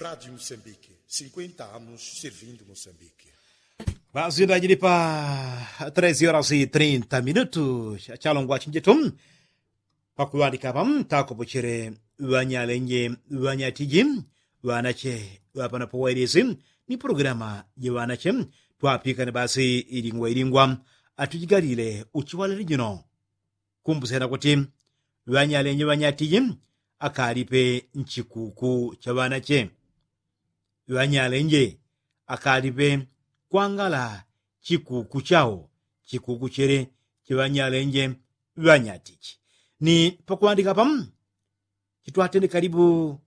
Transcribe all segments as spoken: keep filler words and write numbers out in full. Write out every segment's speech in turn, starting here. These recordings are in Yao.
Radiu musambiki, sinkwenta anus sirvindu musambiki. Basi ndajili pa tresi orasi trinta minutu. Chalongwa chinjitu pakuŵandika apa takopochele ŵanyalenje, ŵanyatiji, ŵanache ŵapanapo wailisi ni pulogulama je ŵanache. Twapikane basi ilingwa ilingwa atujigalile uchiwalili jino. Kumbusyana kuti ŵanyalenje ŵanyatiji akalipe nchikuku cha ŵanache. Ŵanyalenje akalipe kwangala chikuku chao chikuku chele. Chiŵanyalenje ŵanyatiji ni pakuŵandika apa chitwatende kalibu.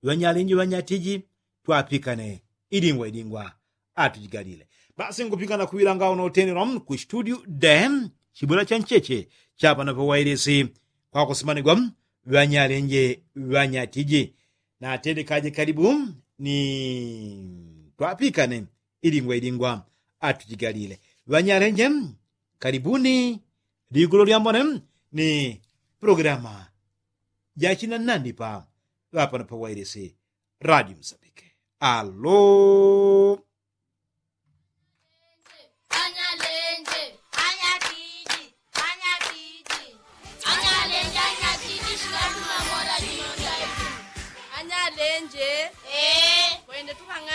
Ŵanyalenje ŵanyatiji twapikane ilingwa ilingwa atujigalile. Basi ngupikana kuŵilanga uno utendelwa ku situdiu de chibwela cha ncheche chapana pawailisi kwakusimanigwa. Ŵanyalenje ŵanyatiji natendekaje kalibu ni twapikane ilingwa ilingwa atujigalile. Ŵanyalenje kalibuni. Ligulo lyambone ni pulogulama jachina nanipa ŵapano pawailisi radiu musambike. Alo. Anyalenje. Ee. Kwende tukang'ana.